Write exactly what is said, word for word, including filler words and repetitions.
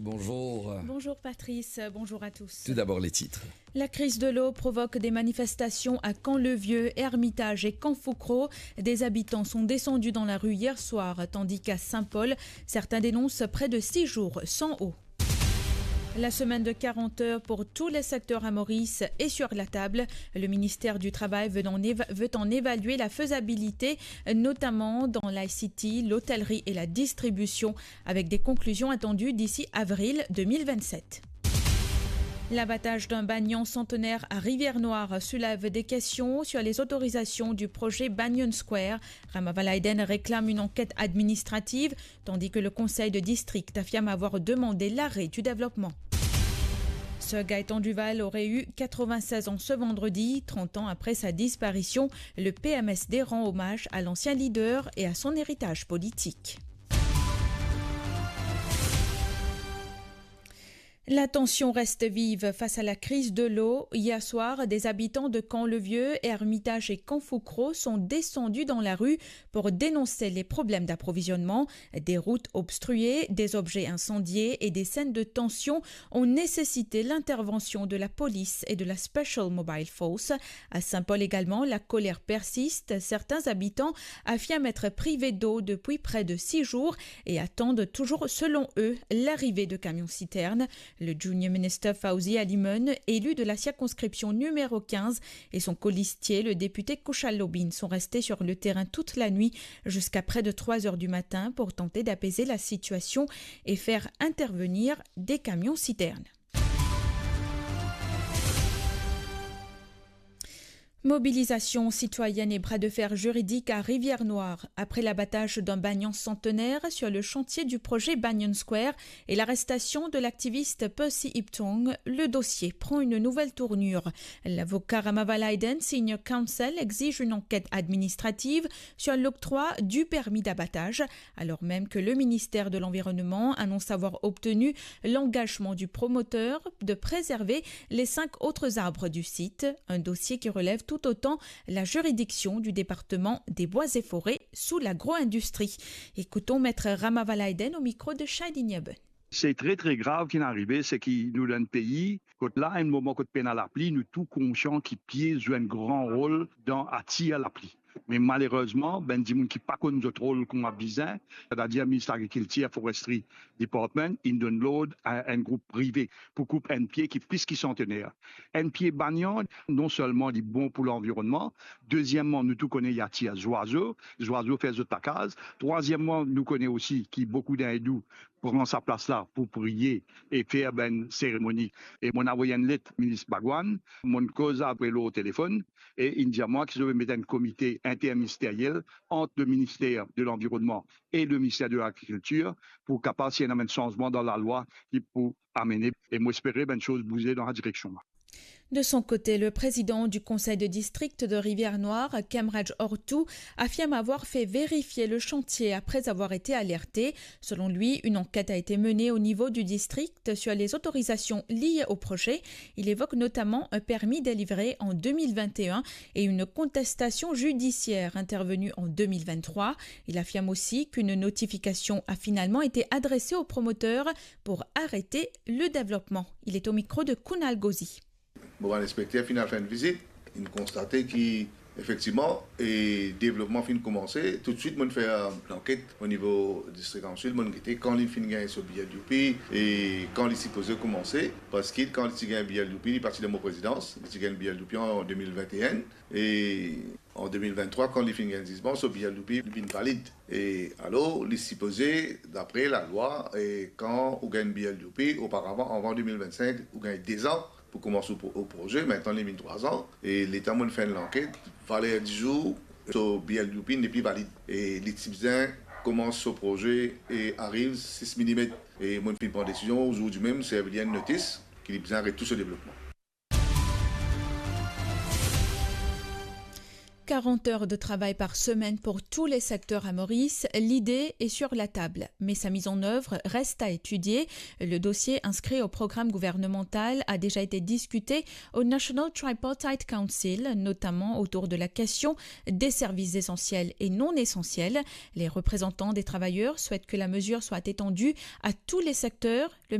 Bonjour. Bonjour Patrice, bonjour à tous. Tout d'abord les titres. La crise de l'eau provoque des manifestations à Camp-le-Vieux, Hermitage et Camp Foucro. Des habitants sont descendus dans la rue hier soir, tandis qu'à Saint-Paul, certains dénoncent près de six jours sans eau. La semaine de quarante heures pour tous les secteurs à Maurice est sur la table. Le ministère du Travail veut en éva-, veut en évaluer la faisabilité, notamment dans l'I C T, l'hôtellerie et la distribution, avec des conclusions attendues d'ici avril deux mille vingt-sept. L'abattage d'un banyan centenaire à Rivière-Noire soulève des questions sur les autorisations du projet Banyan Square. Ramallah Eden réclame une enquête administrative, tandis que le conseil de district affirme avoir demandé l'arrêt du développement. Sir Gaëtan Duval aurait eu quatre-vingt-seize ans ce vendredi, trente ans après sa disparition. Le P M S D rend hommage à l'ancien leader et à son héritage politique. La tension reste vive face à la crise de l'eau. Hier soir, des habitants de Camp-le-Vieux, Hermitage et Camp Foucro sont descendus dans la rue pour dénoncer les problèmes d'approvisionnement. Des routes obstruées, des objets incendiés et des scènes de tension ont nécessité l'intervention de la police et de la Special Mobile Force. À Saint-Paul également, la colère persiste. Certains habitants affirment être privés d'eau depuis près de six jours et attendent toujours, selon eux, l'arrivée de camions-citernes. Le Junior Minister Fawzi Alimun, élu de la circonscription numéro quinze, et son colistier, le député Kushal Lobin, sont restés sur le terrain toute la nuit jusqu'à près de trois heures du matin pour tenter d'apaiser la situation et faire intervenir des camions-citernes. Mobilisation citoyenne et bras de fer juridique à Rivière-Noire. Après l'abattage d'un banyan centenaire sur le chantier du projet Banyan Square et l'arrestation de l'activiste Percy Iptong, le dossier prend une nouvelle tournure. L'avocat Ramallah Eden, Senior Counsel, exige une enquête administrative sur l'octroi du permis d'abattage, alors même que le ministère de l'Environnement annonce avoir obtenu l'engagement du promoteur de préserver les cinq autres arbres du site, un dossier qui relève tout autant la juridiction du département des bois et forêts sous l'agro-industrie. Écoutons Maître Ramallah Eden au micro de Shadin Yaben. Se tre, tre grav ki inn arive, se ki nou dan enn pei kot la, enn moman kot pena lapli, nou tou konsian ki pie zwe enn gran rol dan atir lapli. Me malerezman, bann dimoun ki pa konn zot rol kouma bizin, setadir Minister Lagrikiltir, Forestry Department, inn donn lord a enn group prive pou koup enn pie ki plis ki santener. Enn pie banyan, non selman li bon pou lanvironnman, dezieman, nou tou kone li atir zwazo, zwazo fer zot lakaz. Trwazieman, nou kone osi ki boukou dan indou pran sa plas la pou priye e fer bann seremoni. E mo'nn avoy enn let minis Bhagwan, mo'nn koz avek li lor telefonn, e inn dir mwa ki zot pe met enn komite interministeriel ant le minister de l'Environnement et le ministère de l'Agriculture pou kapav si ena enn sanzman dan lalwa ki pou amene, e mo espere bann soz bouze dan sa direksion la. De son côté, le président du conseil de district de Rivière-Noire, Kemraj Ortou, affirme avoir fait vérifier le chantier après avoir été alerté. Selon lui, une enquête a été menée au niveau du district sur les autorisations liées au projet. Il évoque notamment un permis délivré en deux mille vingt et un et une contestation judiciaire intervenue en deux mille vingt-trois. Il affirme aussi qu'une notification a finalement été adressée au promoteur pour arrêter le développement. Il est au micro de Kunal Ghosi. Bon, bann inspekter finn al fer enn vizit, inn konstate ki efektivman, e devlopman finn koumanse. Toutswit, mo'nn fer, euh, lanket o nivo distrik Kanal Sud, mo'nn gete kan li finn gagn so B L U P, e kan li sipoze koumanse, parski kan li ti gagn B L U P, li pa ti dan mo prezidans, li ti gagn B L U P an, an deux mille vingt et un, e an deux mille vingt-trois, kan li finn gagn zizman, so B L U P li vinn valid. E alor, li sipoze, dapre lalwa, e kan ou gagn B L U P, oparavan, avan deux mille vingt-cinq, ou gagn dezan pou koumans ou pro-, ou proze, mintnan li vinn trwa zan, e letan mo'nn fer enn lanket, valer dizour, so B L U P nepli valid. E li ti bizin koumans so proze e ariv sis milimet. E mo'nn finn pran desizion, zordi mem, servi li enn notis ki li bizin aret tou so devlopman. Quarante heures de travail par semaine pour tous les secteurs à Maurice, l'idée est sur la table, mais sa mise en œuvre reste à étudier. Le dossier inscrit au programme gouvernemental a déjà été discuté au National Tripartite Council, notamment autour de la question des services essentiels et non essentiels. Les représentants des travailleurs souhaitent que la mesure soit étendue à tous les secteurs. Le